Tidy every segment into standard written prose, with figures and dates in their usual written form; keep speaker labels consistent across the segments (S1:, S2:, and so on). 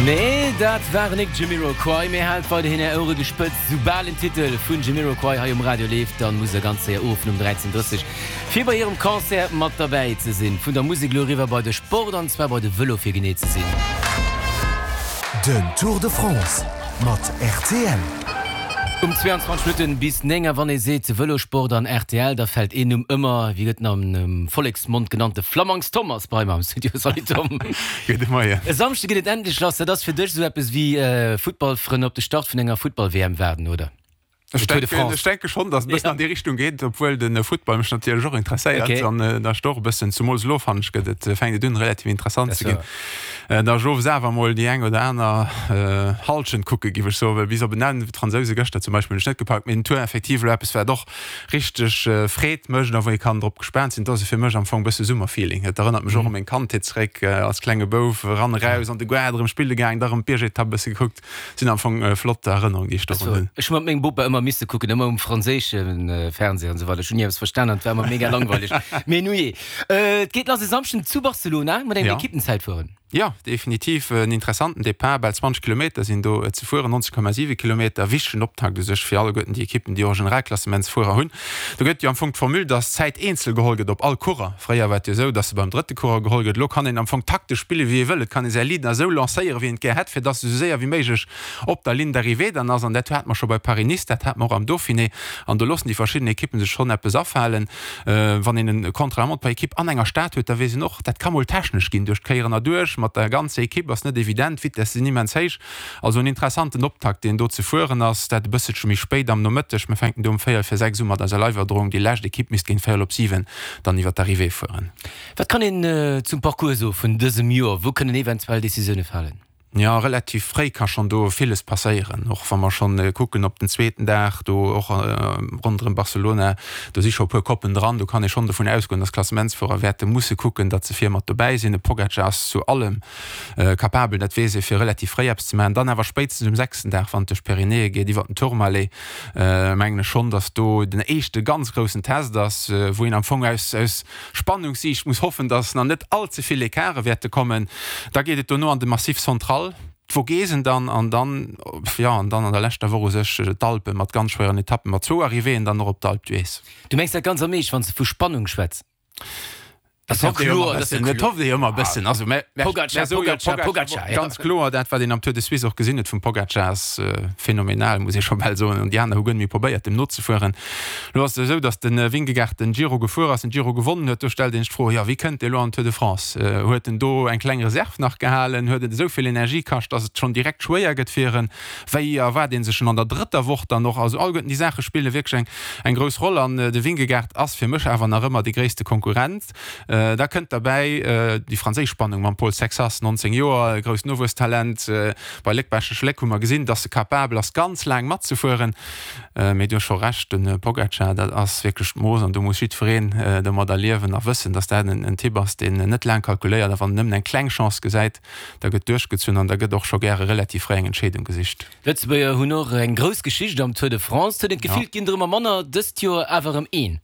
S1: Nee, dat waren nik Jamiroquai, mee haalt weiderhin är Ouere gespëtzt. Soubal en Titel vun Jamiroquai hei um Radio leeft, dann musst der ganz séier uruffen um 13:30 fir bei hirem Concert mat derbäi ze sinn. Vun der Musek elo eriwwer bei de Sport, an zwar bei de Vëlo fir genee ze sinn.
S2: Den Tour de France mat rtl.
S1: Um 22 Minutten bis 9 a wann ee seet Vëlosport an rtl, da fält een Numm ëmmer, wéi gëtt en am Volleksmond genannt, de Flamangs Tom ass bei mer am Studio. Salut Tom.
S3: Gudde Moien.
S1: E Samschde geet et endlech lass. Dat ass fir dech esou eppes wéi Futtballfrënn op de Start vun enger Futtball-WM waarden, oder?
S3: Ech denken, ech denke schonn, datt et e bëssen an déi Richtung geet, obwuel de Futtball mech natierlech och interesséiert an da ech och e bëssen, zumools elo fannen ech, gëtt et, fänkt et un relativ interessant ze ginn. Da ech owes awer emol déi eng oder aner Hallschent kucke giff ech soen, well bis op en Enn, d'Fransouse gëschter zum Beispill hunn ech net gepackt, mee den Tour effektiv elo eppes wat och richteg Freed mécht a wou ee kann drop gespaant sinn. Dat ass fir mech am Fong e bësse Summerfeeling. Et erënnert mech och u meng Kandheet zeréck, als klenge Bouf eran eraus an de Gaart erëm spille gaang, da erëm d'Biergetapp e bësse gekuckt. Sinn am Fong flott Erënnerungen déi ech dorun hunn.
S1: Ech hu mat mengem Bopa ëmmer misse kucken, ëmmer um franséische Fernseh an esou weider. Ech hunn ni eppes verstan an et war ëmmer mega langweileg. Mee nujee, et geet lass e Samschden zu Barcelona mat engem Ekippenzäitfueren.
S3: Jo, definitiv en interessanten Depart. Bal 20 Kilometer sinn do ze fueren, 19,7 Kilometer. Wichtegen Optakt u sech fir alleguerten déi Ekippen, déi och e Generalklassementsfuerer hunn. Do gëtt jo am Fong d'Formule, dass d'Zäit eenzel geholl gëtt op all Coureur. Fréier war et jo esou, dass se beim drëtte Coureur geholl gëtt. Elo kann een am Fong taktesch spille wéi ee wëll. Et kann ee säi Leader esou lancéieren, wéi een et gär hätt, fir dass e sou séier wéi méiglech op der Ligne d'arrivée dann ass. An dat hate mer scho bei Paris-Nice, dat hate mer och am Dauphiné. An do loossen déi verschidden Ekippen sech schonn eppes afalen. Wann een e Contre-la-montre par équipe an enger Stad huet, da weess een och, dat ka mol technesch ginn duerch d'Kéieren erduerch. Mat der ganzer Ekipp ass net evident, d'Vitesse sinn immens héich. Also en interessanten Optakt, deen do ze fueren ass. Dat e bësselche méi spéit am Nomëtteg. Mir fänken do um véierel vir 6 u mat eiser Live-Iwwerdroung. Déi lescht Ekipp misst géint véierel op 7 dann iwwer d'Arrivée fueren.
S1: Wat kann een zum Parcours soe vun dësem Joer? Wou kënnen eventuell Decisioune falen?
S3: Jo, relativ fréi ka schonn do villes passéieren. Och wa mer schonn kucken op den zweeten Dag, do och ronderëm Barcelona, do si scho e puer Koppen dran. Do kann ee schonn dovun ausgoen, datt d'Klassementsfuerer wäerte musse kucken, datt se vir mat dobäi sinn. De Pogacar ass zu allem Capabel, dat weess ee, fir relativ fréi eppes ze maachen. Dann awer spéitstens um sechsten Dag, wann et duerch d'Pyrenäe geet, iwwer den Tourmalet, mengen ech schonn, datt do den éischte ganz groussen Test ass, wou een am Fong aus aus Spannungssiicht muss hoffen, datt nach net all ze vill Ecarte wäerte kommen. Da geet et dono an de Massif Central, d'Vogesen dann an dann, jo, an dann an der leschter Woch u sech d'Alpen mat ganz schwéieren Etappen, mat zwou Arrivéeën dann och op d'Alpe d'Huez.
S1: Du mengs dat ganz am Eescht, wann s de vu Spannung schwätz?
S3: Dat ass jo kloer, dat ass jo kloer. Dat hofft ee jo ëmmer e bëssen. Also, mä, mä, Pogacar, Pogacar, Pogacar, ja. Ganz kloer, dat wat een am Tour de Suisse och gesinn huet vum Pogacar ass phänomenal, muss ee scho bal soen. An déi aner hu guer net méi probéiert, dem nozefueren. Elo ass et esou, datt de Vingegaard den Giro gefuer ass, den Giro gewonnen huet. Do stellt een sech d'Fro, jo, wéi kënnt dee elo an den Tour de France? Huet en do eng kleng Reserv nach gehalen? Huet et esou vill Energie kascht, datt et schonn direkt schwéier gëtt fir en? Wéi erwaart ee sech en an der drëtter Woch dann och? Also alleguerten déi Saache spille wierklech eng eng grouss Roll an de Vingegaard ass fir mech awer nach ëmmer dee gréisste Konkurrent. Da kënnt derbäi déi franséisch Spannung mam Paul Sexas, 19 Joer, grousst Nowuesstalent. Bei Léck-Baaschtnech-Léck hu mer gesinn, dass e capabel ass ganz laang matzefueren. Mee du hues scho Recht, de Pogacar, dat ass wierklech d'Mooss an do muss jiddwereen domadder liewen a wëssen, dass dat en Typ ass, deen net laang kalkuléiert a wann en nëmmen eng kleng Chance gesäit, da gëtt duerchgezunn an da gëtt och scho gäre relativ fréi eng Entscheedung gesicht.
S1: D'Lëtzebuerger hunn och eng grouss Geschicht am Tour de France. Et huet een d'Gefill, et ginn der ëmmer manner, dëst Joer awer erëm een.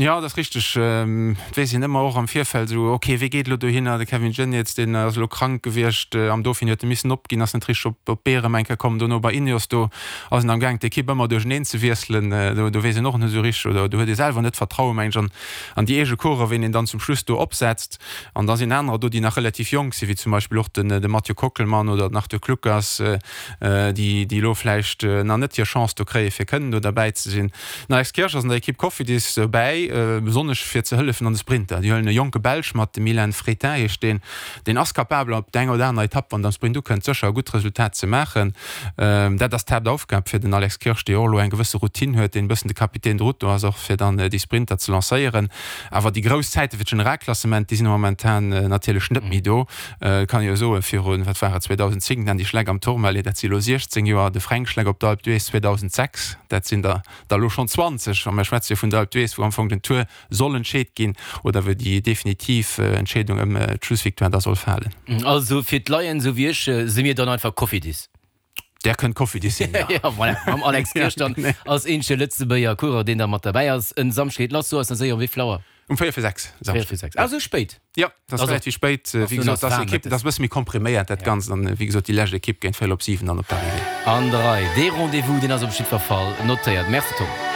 S3: Jo, dat ass richteg. Et weess een ëmmer och am Virfeld esou, ok, wee geet elo dohinner? De Kevin Geniets, deen ass elo krank gewiescht am Dauphiné, huet e missen opginn, ass net richteg op d'Bee erëm eng Kéier komm. Dono bei Ineos, do ass en am gaang d'Ekipp ëmmer duercheneen ze wiesselen. Do do weess een och net esou richteg oder do huet ee selwer net Vertraue meng ech an an déi eege Coureuren, ween een dann zum Schluss do opsetzt. An da sinn anerer do, déi nach relativ jonk sinn, wéi zum Beispill och den de Mathieu Kockelmann oder den Arthur Kluckers, déi déi elo vläicht nach net hir Chance do kréien, fir kënnen do derbäi ze sinn. Den Alex Kirsch ass an der Ekipp Cofidis dobäi, besonnesch fir ze hëllefen an de Sprinter. Déi huelen e jonke Belsch mat, de Milan Fretin heescht deen. Deen ass capabel op der enger oder anerer Etapp, wann et am Sprint ukënnt, sécher e gutt Resultat ze maachen. Dat ass d'Haaptaufgab fir den Alex Kirsch, dee och elo eng gewësse Routine huet, deen e bëssen de Capitaine de route do ass, och fir dann déi Sprinter ze lancéieren. Awer déi grouss Zäite fir d'Generalklassement, déi sinn momentan natierlech net méi do. Et kann ee jo soen, virun, wat war et, 2010, den Andy Schleck am Tourmalet, dat si elo 16 Joer, de Fränk Schleck op der Alpe d'Huez 2006, dat sinn der der elo schonn 20. A mir schwätze jo vun der Alpe d'Huez, wou am Fong den Tour soll entscheet ginn oder wou déi definitiv Entscheedung ëm d'Schlussvictoire da soll falen.
S1: Also fir d'Laien esou wéi ech, si mir dann einfach Cofidis.
S3: Där kënnt Cofidis sinn,
S1: jo. Jo, voilà, mam Alex Kirsch dann als eenzege Lëtzebuerger Coureur, deen da mat derbäi ass. En Samschdeg geet lass, so ass nach séier, um wéi vill Auer?
S3: Um 4 vir 6.
S1: 4 vir 6. Ah, sou spéit?
S3: Jo, dat ass relativ spéit. Wéi gesot, dat ass Ekipp, dat ass e bësse méi kompriméiert dat Ganzt. An wéi gesot, déi lescht Ekipp géint 7:45 dann op d'Arrivée.
S1: An der Rei. Dee Rendez-vous, deen ass op jiddwer Fall notéiert. Merci Tom.